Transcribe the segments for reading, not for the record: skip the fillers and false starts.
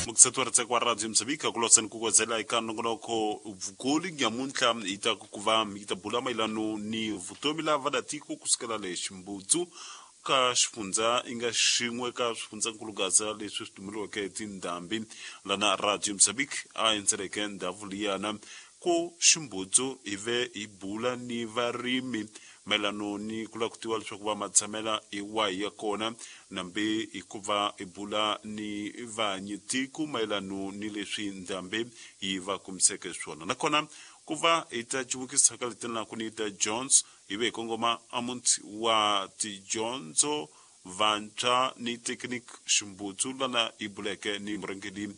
Mukiseti wa ritseko wa Radio Mozambique kuloseni kukozela eka nongonoko vukulu nyamuntlha hi ta ku va hi ta bula mayelano ni vutomi la vadatiko kusukela le Ximbudzu ka xifundza i nga xin'we ka swifundzankulugaza leswi swi tumeliweke hi tindhambi lana Radio Mozambique a endzeleke ndhawu liyana ku Ximbudzu hi ve hi bula ni varimi mayelano ni ku lava ku tiva leswaku va matshamela hi wahi ya kona nambe hikuva hi bula ni vanyitiko mayelano ni leswi ndhambi yi va kumiseke swona nakona ku va hi ta civukisa ka letinelaku ni ta Jones hi ve hi kongoma amuti wa tidyondzo vantshwa ni Technique Ximbutsu lana hi buleke ni murhangeri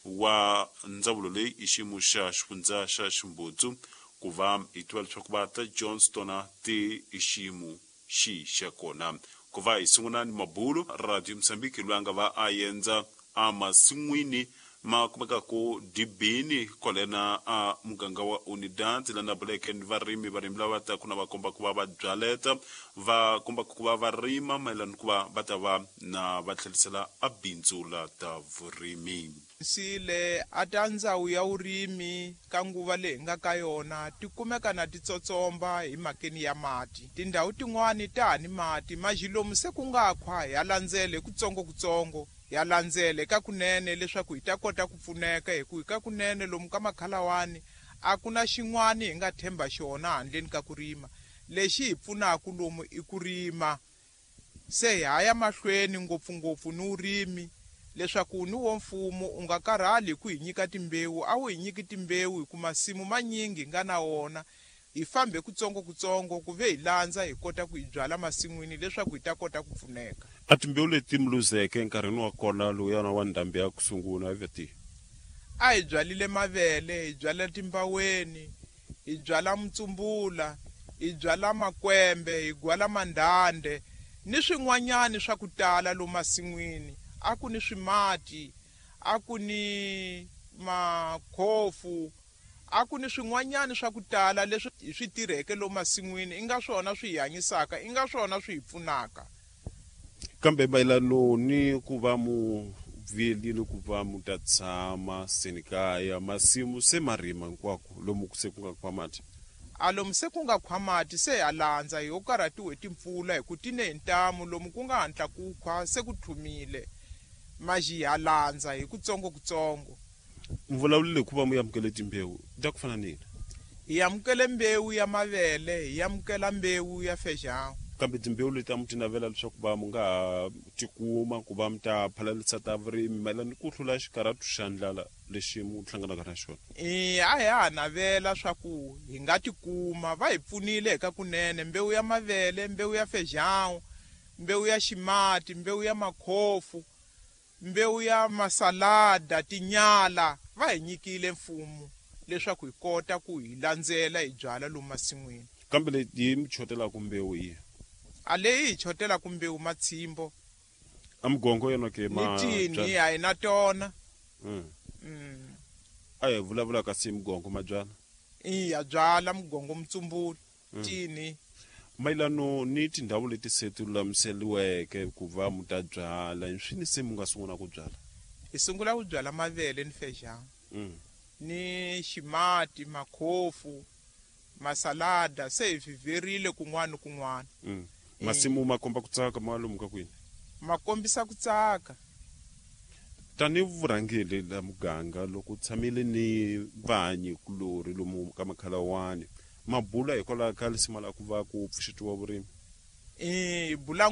wa ndzawulo leyi i xiyimo xa xifundza xa Ximbutsu ku va hi tiva leswaku va ta Jones tona ti i xiyimo xi xa kona ku va hi sungula ni mabulo Radio Mozambique loyi a nga va a endza emasin'wini ma kumekaka dibini kwalena a muganga wa Unidad lana buleke ni varimi varimi lava taku na va komba ku va va byaleta va komba ku va va rima mayelana ku va va ta va na va tlherisela a bindzu la ta vurimi. Sile a ta ndzawu ya vurimi ka nguva leyi hi nga ka yona ti kumeka na ti tsotsomba hi mhakeni ya mati. Tindhawu tin'wani ta ha ni mati majilomu se ku nga khwa ya landzele hi kutsongokutsongo ya landzele ka kunene leswaku hi ta kota ku pfuneka hi ku hi ka kunene lomu ka makhalawani a ku na xin'wani hi nga themba xona handleni ka ku rima. Lexi hi pfunaka lomu i ku rima. Se hi haya mahlweni ngopfungopfu ni vurimi leswaku ni wo mfumo u nga karhali hi ku hi nyika timbewu a wu hi nyiki timbewu hi ku masimu manyingi hi nga na wona hi fambe kutsongokutsongo ku ve hi landza hi kota ku hi byala masin'wini leswaku hi ta kota ku pfuneka. A timbewu leti mi luzeke enkarhini wa kona lowuyana wa ndhambi ya ku sungula i ve tihi? A hi byalile mavele, hi byala timbaweni, hi byala mutsumbula, hi byala makwembe, hi gwala mandhande ni swin'wanyani swa ku tala lomu masin'wini. A ku ni swimati, a ku ni makhofu, a ku ni swin'wanyani swa ku tala leswi hi swi tirheke lomu masin'wini i nga swona swi hi hanyisaka, i nga swona swi hi pfunaka. Kambe mayelano ni ku va mu vuyelile ku va mu ta tshama senikaya masimu se ma rima hinkwako lomu se ku nga khwa mati. A lomu se ku nga khwa mati se ha landza hi ho karhatiwe timpfula hi ku ti ne hi ntamu lomu ku nga hatla ku khwa se ku tlhumile maji ha landza hi kutsongokutsongo. Mi vulavulile hi ku va mu amukele timbewu ta ku fana ni yini? Hi amukele mbewu ya mavele, hi amukela mbewu ya feijão. Kambe timbewu leti a mu ti navela leswaku va mu nga ha tikuma ku va mi ta phalalisa ta vurimi mayelana ni ku hlula xikarhatu xa ndlala lexi mu hlanganaka na xona? E, a hi ha navela swa ku hi nga tikuma. Va hi pfunile hi ka kunene mbewu ya mavele, mbewu ya feijão, mbewu ya ximati, mbewu ya makhofu, mbewu ya masalada, tinyala. Va hi nyikile mfumo leswaku hi kota ku hi landzela hi byala lomu masin'wini. Kambe leyi yi mi chotelaka mbewu yi? A leyi hi chotelaka mbewu matshimbo. A mugongo yona ke ma ni tini a hi na tona. A hi vulavula kasi mugongo mabyala. Iya byala mugongo mutsumbula tini. Mayelano ni tindhawu leti se ti lulamiseriweke ku va mu ta byala hi swini se mu nga sungula ku byala? Hi sungula ku byala mavele ni feijão. Ni ximati, makhofu, masalada se hi vhiverile kun'wana ni kun'wana. Masimu ma komba ku tsaka ma lomu ka kwini? Ma kombisa ku tsaka. Tanihi vurhangeri la muganga loko tshamile ni vanyi kulorhi lomu ka makhalawani mabula hikwalaho ka lisima la ku va ku pfuxetiwa vurimi? Hi bula.